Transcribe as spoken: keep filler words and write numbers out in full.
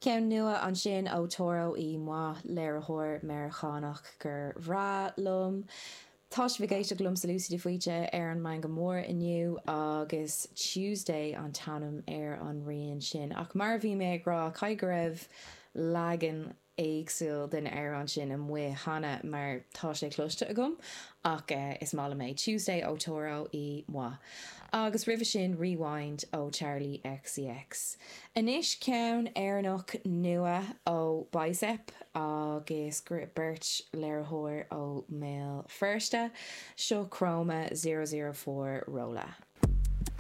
Ceann nua ansin ó Toro y Moi léiritheoir Meiriceánach gur bhreá liom. Tá sibh ag éisteacht liomsa Lucy de Faoite ar an Meangadh Mór inniu agus Tuesday an t-ainm ar an rian sin. Ach mar bhí mé ag rá caithfidh go raibh leagan éagsúil den amhrán sin amuigh cheana mar tá sé cloiste agam ach uh, is maith liom é Tuesday ó Toro y Moi. Agus roimhe sin Rewind ó Charli XCX. Anois ceann Éireannach nua ó Bicep agus beirt léiritheoir ó Mbéal Feirste seo Chroma zero zero four Rolla.